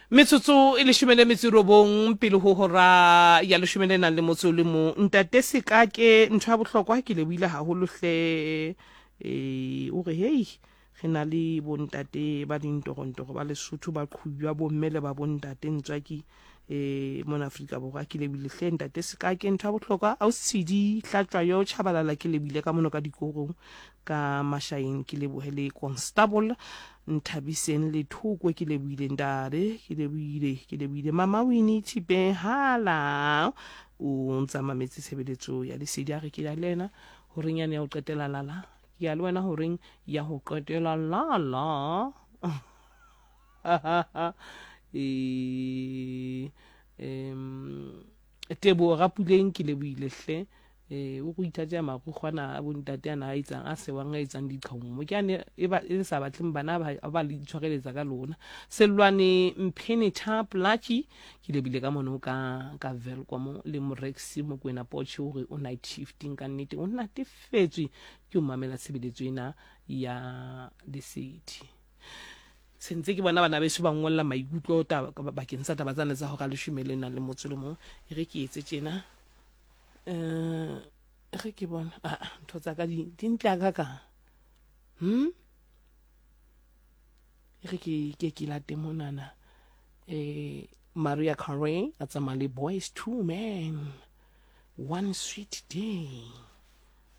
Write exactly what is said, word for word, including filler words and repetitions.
Metsotso e leshome le metso e robong pele ho hora ya leshome le nang le motso o le mong. Ntate Sekake, ntho ya bohlokwa ke lebohile haholo hle. E o re hei, re na le bontate ba dintorontoro ba Lesotho ba qhubjwa bomme le ba bontate ntswaki e mona Afrika Borwa. Ke lebohile hle ntate Sekake, ntho ya bohlokwa. Ausi Hlatswayo Chabalala, ke lebohile ka mono ka dikorong ka Mashaeng. Ke lebohe le Constable Nthabiseng Lethoko, ke lebohile ntate, ke lebohile, ke lebohile Mama Winnie Thipe hala o ntsa mametse tshebeletso ya Lesedi. A re ke ya le yena horeng yane ya ho qetela lala, ke ya le wena horeng ya ho qetela lala. E em Teboho Rapuleng, ke lebohile hle. Eh o go ithatela marukgwana a bontate ana a etsang a sewang a etsang diqhaumo ke ane e ba e sa batleng bana ba ba le itshwareletsa ka lona. Sellwane Mphene Tha Plaatjie, ke lebile ka mono ka ka Welkom le Morex Mokwena Poche, o re o night shifting ka nnete, o natefetswe ke o mamela tshebeletso ena ya Lesedi. Sentse ke bona bana beso ba ngolla maikutlo taba bakeng sa taba tsane tsa hora leshome le nang le motso le mong. E re ke etse tjena, eh re ke bona ah ntho tsa ka di di ntle ka ka hm e re ke ke ke late monana. Eh Maria Carey a tsamaya le Boys Two Men, One Sweet Day.